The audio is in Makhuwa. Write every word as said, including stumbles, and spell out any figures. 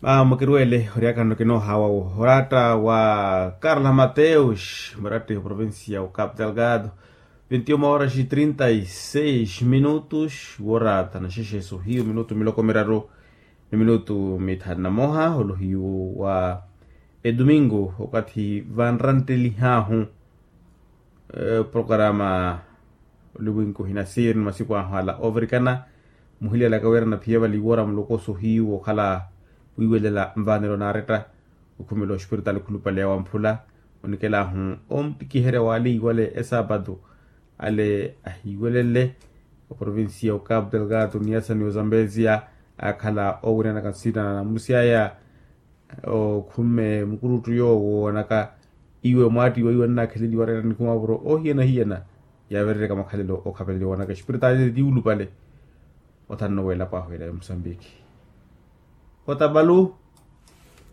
Mamu kiruwele oryaka nno kinoohawa wo oratta wa karla mateus muratta ya provincia wa capital gado. Vintiuma horas e trinta e seis minutos woratta na xexeso hiyu minutu miloko miraru ni minutu mithanu na moha olohiyu wa edumingo okathi vanrantelihahu. Programa oliwinko hinasiri ni masiku ahu ala ovirikana muhilyalaka wira naphiya vali wora mulokoso hiyu wokhala wiiwelela nvanelo naaretta okhumela ospiritaali khulupale ya wamphula. Onikelahu omutikiherya waleiwale esapatu ale ahiiwelele oprovincia okapu delgado niyasa ni ozambezia akhala owiryanaka nsina na namusi aya. Okhumme mukuruttu yoowo woonaka iwe mwaattiwa iwe nnaakheleliwa reera nikhumavuro ohiyana hiyana yaaverereka makhalelo okhapeleliwa woonaka espiritaali tiulupale. Othanno weelapo ahu ela ya musambiki otabalu